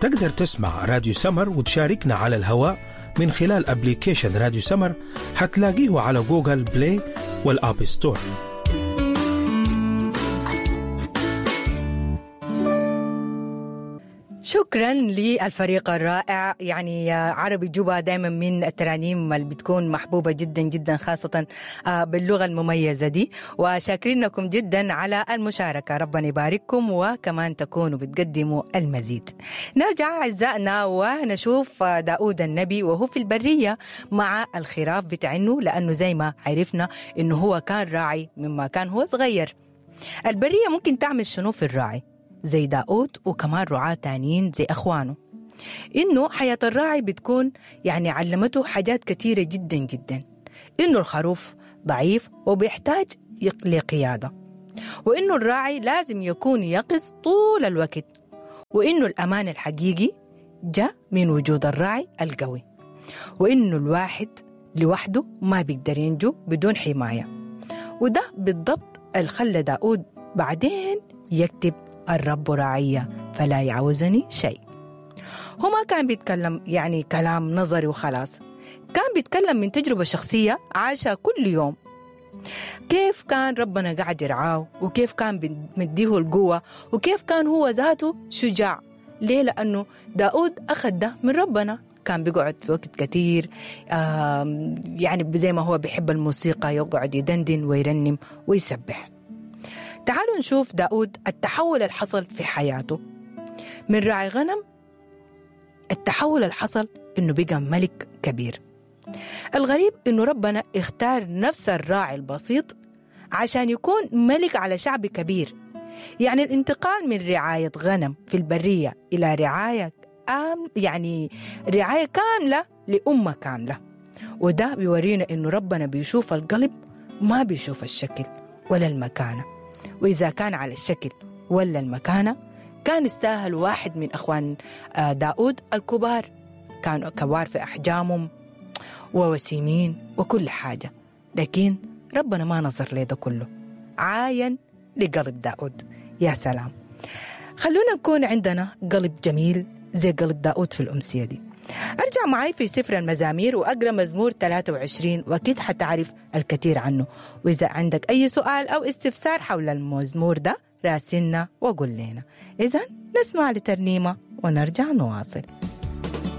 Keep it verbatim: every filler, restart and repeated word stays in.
تقدر تسمع راديو سمر وتشاركنا على الهواء من خلال application راديو سمر، حتلاقيه على Google Play وال App Store. شكرا للفريق الرائع. يعني عربي جوبا دائما من الترانيم اللي بتكون محبوبة جدا جدا، خاصة باللغة المميزة دي، وشاكرينكم جدا على المشاركة، ربنا يبارككم وكمان تكونوا بتقدموا المزيد. نرجع أعزائنا ونشوف داود النبي وهو في البرية مع الخراف بتاعنه، لأنه زي ما عرفنا إنه هو كان راعي مما كان هو صغير. البرية ممكن تعمل شنو في الراعي زي داود وكمان رعاة تانيين زي أخوانه؟ إنه حياة الراعي بتكون يعني علمته حاجات كثيرة جدا جدا، إنه الخروف ضعيف وبيحتاج لقيادة، وإنه الراعي لازم يكون يقظ طول الوقت، وإنه الأمان الحقيقي جاء من وجود الراعي القوي، وإنه الواحد لوحده ما بيقدر ينجو بدون حماية. وده بالضبط اللي خلى داود بعدين يكتب الرب راعي فلا يعوزني شيء. هو ما كان بيتكلم يعني كلام نظري وخلاص، كان بيتكلم من تجربة شخصية عاشها كل يوم، كيف كان ربنا قاعد يرعاه، وكيف كان مديه القوة، وكيف كان هو ذاته شجاع. ليه؟ لأنه داود أخذ ده من ربنا. كان بيقعد في وقت كتير، يعني زي ما هو بيحب الموسيقى يقعد يدندن ويرنم ويسبح. تعالوا نشوف داود التحول اللي حصل في حياته من راعي غنم، التحول اللي حصل إنه بقى ملك كبير. الغريب إنه ربنا اختار نفس الراعي البسيط عشان يكون ملك على شعب كبير. يعني الانتقال من رعاية غنم في البرية إلى رعاية آم يعني رعاية كاملة لأمة كاملة. وده بيورينا إنه ربنا بيشوف القلب، ما بيشوف الشكل ولا المكانة. وإذا كان على الشكل ولا المكانة كان استاهل واحد من أخوان داود الكبار، كانوا كبار في أحجامهم ووسيمين وكل حاجة، لكن ربنا ما نظر لده كله، عاين لقلب داود. يا سلام، خلونا نكون عندنا قلب جميل زي قلب داود في الأمسية دي. أرجع معي في سفر المزامير وأقرأ مزمور ثلاثة وعشرين، وأكيد حتعرف الكثير عنه. وإذا عندك أي سؤال أو استفسار حول المزمور ده راسلنا وقول لنا. إذن نسمع لترنيمة ونرجع نواصل.